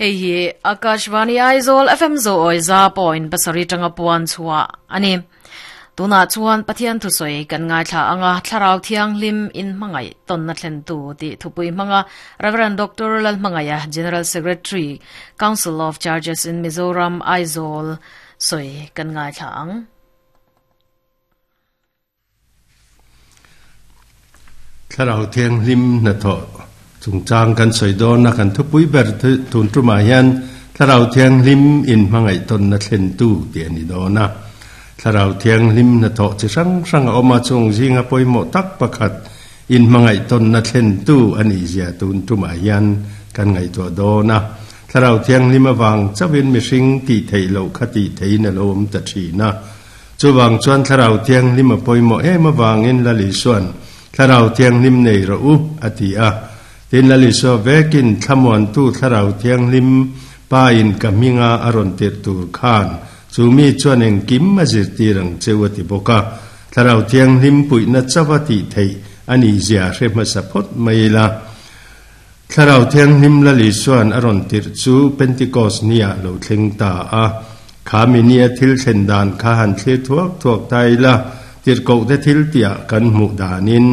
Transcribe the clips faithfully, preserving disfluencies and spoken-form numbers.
Hei hi Akashvani Aizawl F M zo oi za point pasarih tanga puan chhuah ani. Tuna chuan Pathian thu sawi kan ngaithla anga Thlarau Thianghlim in hmangaih tawnna thlen tu tih thupui hmanga Reverend Doctor Lalhmangaia, General Secretary, Council of Churches in Mizoram, Aizawl sawi kan ngaithla ang. Thlarau Thianghlim hnathawh chungchang kan sawi dawn a, kan thupui ber tun tumah hian Thlarau Thianghlim in hmangaih tawnna thlen tu tih a ni dawn a. Thlarau Thianghlim hnathawh chi hrang hrang a awm a, chung zinga pawimawh tak pakhat in hmangaih tawnna thlen tu a nih zia tun tumah hian kan ngaihtuah dawn a. Thlarau Thianghlim avang chauhin mihring tih theih loh kha tih theihin a lo awm ta thin a. Chuvang chuan Thlarau Thianghlim a pawimawh em avangin Lal Isua'n Thlarau Thianghlim nei rawh u a ti a. Tin, Lal Isua vekin Thlamuantu Thlarau Thianghlim Pa in ka hminga a rawn tirh tur khan chu mi chuan engkim a zirtir ang cheu a ti bawk a. Thlarau Thianghlim puihna chauha tih theih a nih zia hre hmasa phawt mai ila. Thlarau Thianghlim Lal Isua'n a rawn tirh chu Pentecost nia lo thleng ta a. Kha mi nia thil thlen dan kha han thlir thuak thuak ta ila, tirhkohte thil tiah kan hmuh danin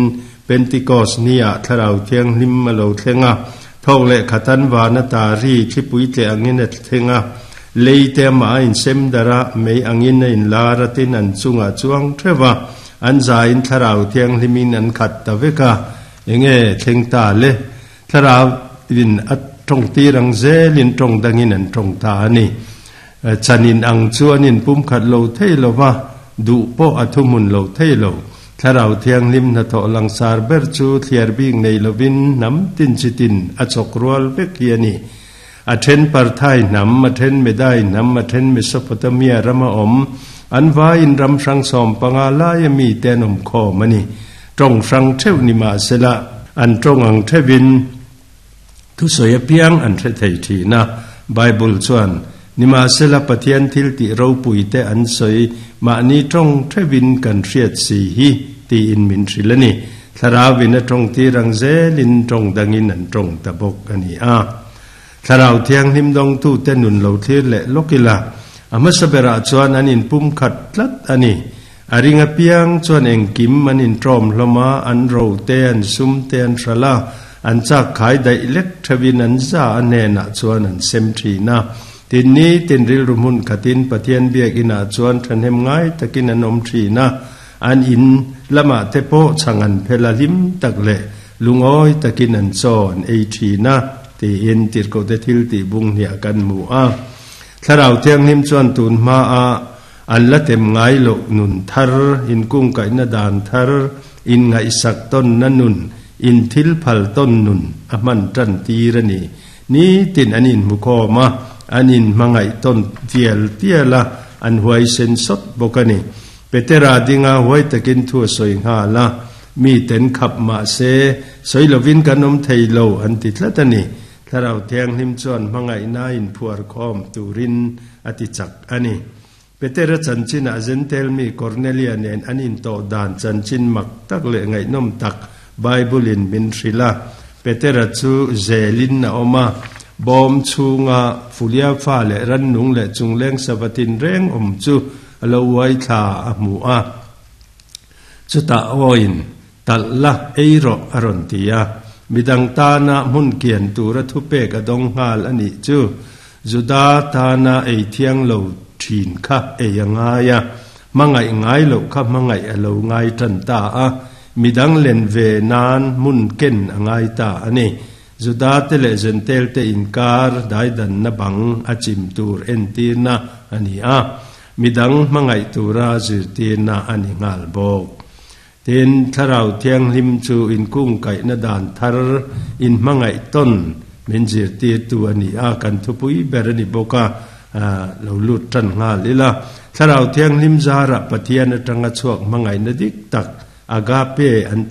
Pentecost nia Thlarau Thianghlim a lo thleng a, thawk leh khatan vana ta ri thlipui tleh angin a thleng a, lei te amah a insem darh a, mei angin a inlar a, tin an chungah chuang theuh a, an zain Thlarau Thianghlimin an khat ta vek a. Enge thleng ta le? Thlarau in a tawng tir ang zelin tawng dangin an tawng ta a ni. Chanin ang chu an inpumkhat lo thei lo va, duh pawh a thuhmun lo thei lo. Thlarau Thianghlim hnathawh langsar ber chu thliar bik nei lovin hnam tin chi tin a chawk rual vek hi a ni. A then Parthai hnam, a then Medai hnam, a then Mesopotamia rama awm, an vaiin ram hrang sawm panga laia mite an awm khawm a ni. Tawng hrang theuh ni mahsela an tawng ang theuhin thusawi apiang an hre thei thin a. Bible chuan, Nimahsela Pathian thil tih ropuite an sawi mahni tawng theuhin kan hriat si hi tiin min hrilh a ni. Thlarauin a tawng tir ang zelin tawng dangin an tawng ta bawk a ni a. Thlarau Thianghlim dawngtute nun lo thlir leh lawk ila, a hmasa berah chuan an inpumkhat tlat a ni. A ring apiang chuan engkim an inṭawm hlawm a, an ro te, an sum te an hralh a, an chak khai daih lek theuhin an za a hnenah chuan an sem ṭhin a. Tin, nitin rilru hmun khatin Pathian biakinah chuan ṭhahnem ngai takin an awm ṭhin a, an in lamah te pawh chhang an phel a, hlim tak leh lungawi takin an chaw an ei ṭhin a, tiin Tirhkohte thil tih bung hniah kan hmu a. Thlarau Thianghlim chuan tun hmaah an la tem ngai loh nun thar, inkungkaihna dan thar, inngaihsak tawnna nun, inthil phal tawn nun a hman tan tir a ni. Nitin an inhmukhawm a, an inhmangaih tawn tial tial a, an huaisen sawt bawk a ni. Petera dinga huai takin thu a sawi nghal a, miten khap mah se, sawi lovin kan awm thei lo an ti tlat a ni. Thlarau Thianghlim chuan hmangaihna inphuar khawm turin a ti chak a ni. Petera chanchinah Zentel mi Kornelia nen an intawh dan chanchin mak tak leh ngaihnawm tak Bible-in min hrilh a. Petera chu zelin a awm a, bawm chhunga Fulia fa leh rannung leh chungleng sava tinreng awm chu a lo uai thla a hmu a. Chutah awiin, Talh la, ei rawh, a rawn ti a. Midang tana hmun kian tura thupek a dawng nghal a nih chu. Juda tana ei thiang lo thin kha ei a ngai a, hmangaih ngai loh kha hmangaih a lo ngai tan ta a, midang len ve nan hmun ken a ngai ta a ni. Juda te leh Zentel te inkar daidanna bang a chim tur entirna a ni a, midang hmangaih tura zirtirna a ni nghal bawk. Tin, Thlarau Thianghlim chu inkungkaihna dan thar inhmangaih tawn min zirtirtu a ni a, kan thupui ber a ni bawk a, lo lut tan nghal ila. Thlarau Thianghlim zarah Pathian atanga chhuak hmangaihna dik tak, agape an ti.